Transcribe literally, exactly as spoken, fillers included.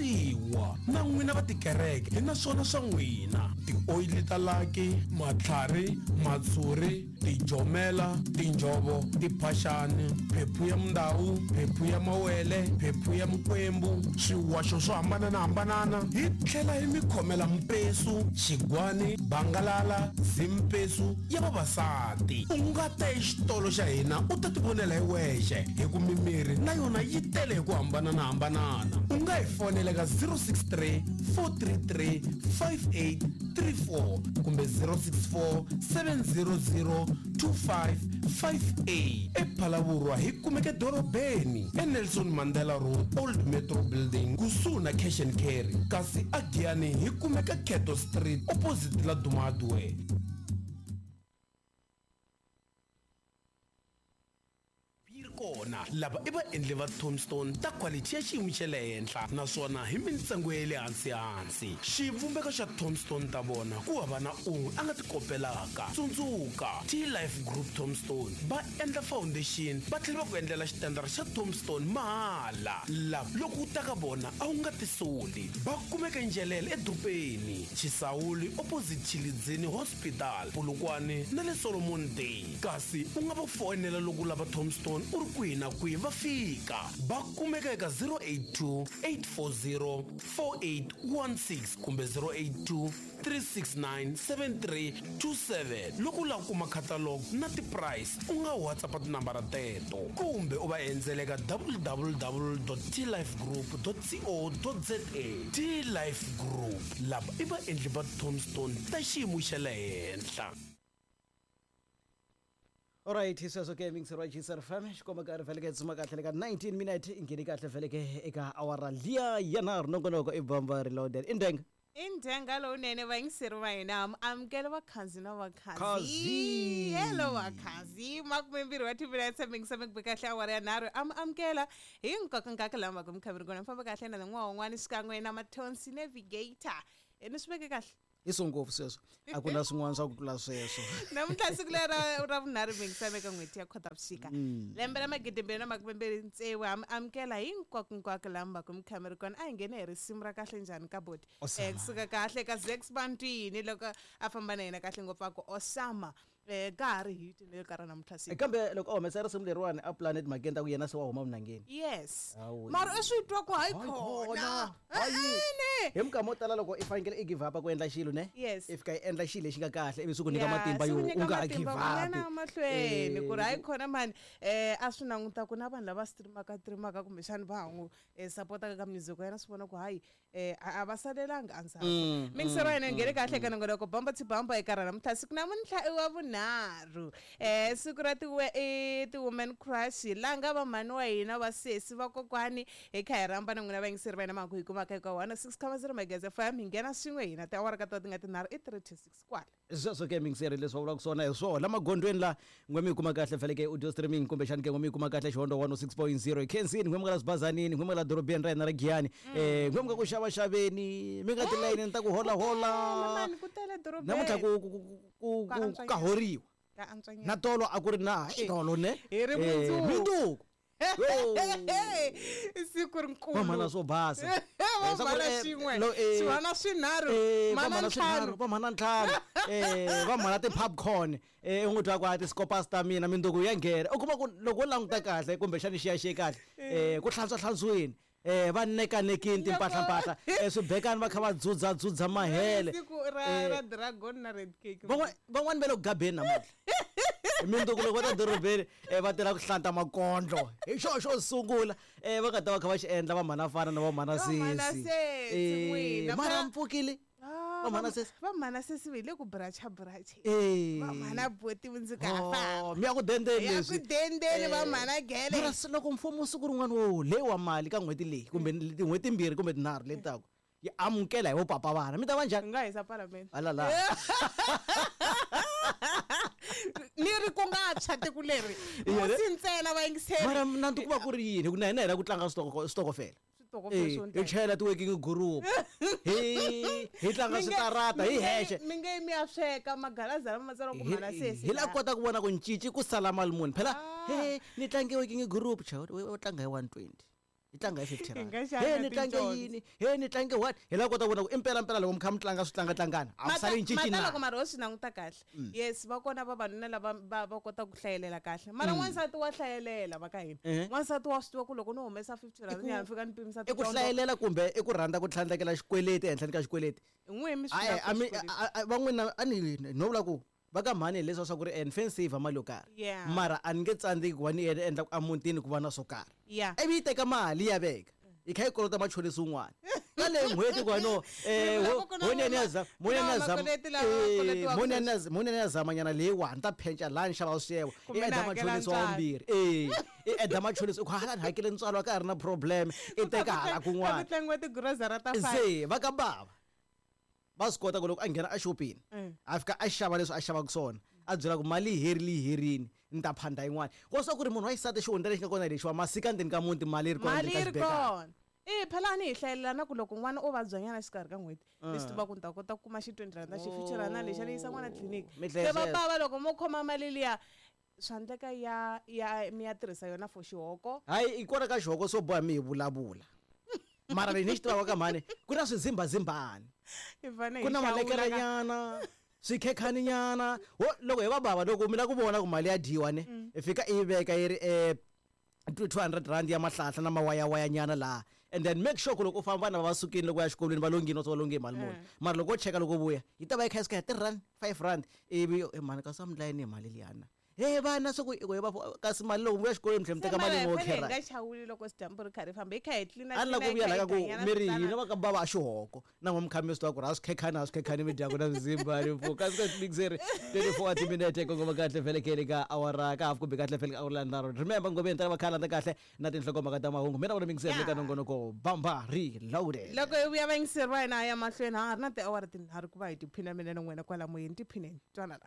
xavisiwa na n'wina va tikereke hi na swona swa n'wina tioyili ta laki matlhari matshuri tijomela tinjovo tiphaxani phephu ya mundawu phephu ya mawele phephu ya mukwembu swiwaxo swo hambananahambanana hi tlhela hi mi khomela mpesu xigwani bangalala zimpesu ya vavasati u nga ta exitolo xa hina u ta tivonela hi wexe hi ku mimiri na yona yi tele hi ku hambananahambanana u nga hi fonela ka zero six three four three three five eight three four kumbe zero six four seven zero zero two five five eight ePhalavurwa hi kumeke dorobeni eNelson Mandela Road Old Metro Building kusuhi na Cash and Carry kasi aGiyani hi kumeka Keto Street opposite la Dumadwe. Kona lava i vaendli va tombstone ta quality ya xiyimo xa le henhla naswona hi mintsengo ya le hansi hansi xivumbeko xa tombstone ta vona ku hava na un'we a nga ti kopelaka tsundzuka T-Life Group Tombstone va endla foundation va tlhela va ku endlela xitandara xa tombstone mahala lava loko u ta ka vona a wu nga tisoli va kumeka Njelele edorobeni Chisawuli opposite Chilidzini Hospital Polokwane na le Solomon Day kasi u nga va fonela loko u lava tombstone u ri kwihi na kwihi va fika va kumeka eka zero eight two eight four zero four eight one six kumbe zero eight two three six nine seven three two seven loko u lava ku kuma catalog na ti-price u nga WhatsApp tinambara teto kumbe u va endzela eka w w w dot t life group dot co dot za T-Life Group lava i vaendli va tombstone ta xiyimo xa le henhla. Alright, sweswo ke mixer wa G S F M xikomba ka ri vheleke tsuma kahle ka nineteen minute ingheni kahle vheleke eka awara liya ya nharhu nongonoko i Bamba Reloaded i ndenga i ndenga lowunene vayingiseri va hina amukela vakhanzi na vakhanzi hello vakhanzi makumembirhi wa timinetse mingisa mi kahle awara ya nharhu am amukela hi nkoka lama ku mikhamiri kona mi famba kahle na n'wana wun'wana xikan'we na Mathonsi Navigator ni swi veke kahle i swo ngopfu sweswo a ku na swin'wana swa ku tlula sweswo namuntlha siku lera ra vunharhu mingisame ka n'hweti ya Khotavuxika lembe ra magidi mbirhi na makume mbirhi tsevu am amukela hinkwako hinkwako lama ku mikhamiri kona a hi nghene hi risimu ra kahle njhani ka boti eh kusuka kahle ka Zex Bantwini loko a famba na yena kahle ngopfu a ku Osama eh ka ha ri hit le ka ra namuntlha siku kambe loko a humesa risimu leriwani a planet magenda ku yena se wa huma vunangeni yes mara i swi twa ku hayi khona hi minkama yo tala loko i fanekele i give up ku endla xilo ne yes if ka endla xilo lexi nga kahle ivi swi ku nyika matimba yo u nga give up mahlweni ku ri hayi khona mani eh a swi languta ku na vanhu lava streamaka streamaka kumbexani va ha n'wi supportaka ka music ya yena swi vona ku hayi eh a va salelanga endzhaku mixero yena nghene kahle ka nongonoko Bamba to Bamba eka ra namuntlha siku namuntlha i wa vunharhu eh siku ra ti ti women crush la nga va mhani wa hina va sesi va kokwani hi kha hi rhamba na n'wina vayingiseri va hina mhaka hi kumaka eka one six comma zero Magezi F M hi nghena swin'we hina tiawara ka to ti nga tinharhu i three to six kwala sweswo ke mixeri leswi va vulaka swona hi swona magondzweni la n'we mi kuma kahle feleke audio streaming kumbexani ke n'we mi kuma kahle Xihondo one oh six point zero khensini n'we mi nga la Sibazanini n'we mi nga la dorobeni ra hina ra Giyani eh n'we mi nga ku xavaxaveni mi nga tilayinini ta ku holahola namuntlha ku ku ka horiwa na tolo a ku ri na tolo ne minduku siku rinkulu vamhana swo basa vamhana xin'we swivana swinharhu mana ntlhanu vamhana ntlhanu eh vamhana ti-popcorn eh u n'wi twa ku a ti-scopas ta mina minduku ya nghena u kuma ku loko u languta kahle kumbexani xiyaxiye kahle eh ku hlantswa hlantsweni eh va nekanekini timpahlampahla eh swibekani va kha va dzudza dzudza mahele siku ra ra dragon na red cake van'wani va le ku gabeni namuntlha minduku loko va ta dorobeni va tirha ku hlanta makondlo hi xo xo sungula eh va nga ta va kha va xi endla va mhana fana na va mhana sesi eh mara mpfukile va mhana sesi va mhana sesi hi le ku bracha bracha va mhana boti mundzuku ha famba mi ya ku dendeni leswi ya ku dendeni va mhana gele mara loko mfumo siku rin'wana wo leyi wa mali ka n'hweti leyi kumbe tin'hweti timbirhi kumbe tinharhu leti taka yi amukela hi vo papa vana mi ta va njhani nga hisa palamende alala ni ri ku nga tshwa tiko leri musi ntsena va yingiseri mara nanti ku va ku ri yini hi ku na hina hi lava ku tlanga switokofela hi chayela ti-working group hi hi tlanga switarata hi hexe mi nge mi ya sweka magalaza lama matsariwa ku mhana sesi hi la kota ku vona ku ncinci ku sala mali muni phela he ni tlange working group cha u tlanga hi one twenty Yi tlanga hi fifty Hi rand. nga xava He ni tlange ticondzo. yini, he ni tlange what, hi lava kota ku vona ku impela mpela loko mi kha mi tlanga swi tlangatlangana a ku sali cinci mata na loko mara ho swi languta kahle, yes, va kona vavanuna lava va va kota ku hlayelela kahle, mara n'wansati wa hlayelela va ka hina. Eh. N'wansati wa swi tiva ku loko no humesa fifty rand ni ya fika ni pimisa I ku ticondzo. hlayelela kumbe i ku rhandza ku tlhandlekela xikweleti ehenhleni ka xikweleti? N'we mi swi Hayi, lavaka a mi xikweleti. a- a- van'wina a ni no vula ku va ka mhani hileswa swa ku ri en fe saver mali yo karhi, Yeah. mara a ni nge tsandzeki ku va ni endla ku emutini ku va na swo karhi. Yeah. Ivi yi teka mali ya veka yi kha yi kolota machonisi wun'wana ka leyi n'hweti ku va no eh, Ni vula ho- ku ku na honeni ya vama- za- ku na moneni ya zama- vamakweleti lava eh, koletiwaka moneni ya z- moneni ya zamanyana leyiwani ni ta phenca laha ni xava swiyevo, i Kumbe ni eda hakela machonisi wa ntswalo. vumbirhi, e i eda machonisi, u ku hala ni hakele ntswalo a ka ha ri na problem, i teka hala Ka ku kun'wana. tlangiwa tigirozara ta five. Se va ka bava va swi kota ku loko a nghena exopeni, Mm. a fika a xava leswi a xavaka swona, a byela ku mali yi herile, yi herini, ni ta phanda yin'wana. Ko swa ku ri munhu wa xisati, xihundla lexi nga kona lexiwa masika ndzeni ka muti, mali yi ri kona Mali ndzeni ka yi ri xibekana. kona e phela a ni hi hlayelela na ku loko n'wana o vabyanyana xikarhi ka n'hweti, ni swi tiva ku ni ta kota ku kuma xi twenty rand, xi fifty rand lexa ni yisa n'wana tliliniki. Mi Se hlaya va sweswo. bava loko mo khoma mali liya, swa endleka ya ya mi ya tirhisa yona for xihoko. Hayi, i kona ka xihoko swo boha mi hi vulavula, mara leyi ni xi tivaka ka mhani ku na swizimbazimbani, Hi fane hi ku na xawula ka- malekerenyana, swikhekhaninyana. Ho loko hi va bava, loko mi la ku vona ku mali ya dyiwa ne, i fika i yi veka yi ri um two hundred rand ya mahlahla na mawayawayanyana laha, and then make sure ku loko u famba vana va va sukile loko ya xikolweni, va longini va longe hi mali muni, mara loko wo cheka loko u vuya yi ta va yi kha yi suka hi three rand, five rand, ivi eh, mhani kasi a mi layeni hi mali liyana, he vana swa ku i ku hi va kasi mali loko mi vuya xikolweni mi tlhela mi Se teka mali mara hi yin'we fane hi khera. nga chawuli loko dyambu ri kha ri famba hi kha hi tlina. A ni la ku vuya la ka ku mi ri hina va ka bava a xihoko na n'we mi kha mi swi tiva ku ri a swi khekhani, a swi khekhani mi dyaku na swizimbani mpfu kasi ka mixeri twenty-four timinete kongoma kahle felekele ka awara ka half kumbe kahle fele ka awara ya nharhu. Remember ngomeni ta va khalanda kahle na tinhlokomhaka ta mahungu, mina vona mixeri le ka nongonoko Bamba Reloaded. Loko hi vuya vayingiseri va hina ya mahlweni, ha ha ri na tiawara tinharhu ku va hi tiphina mina na n'wina kwala moyeni, tiphineni twana la.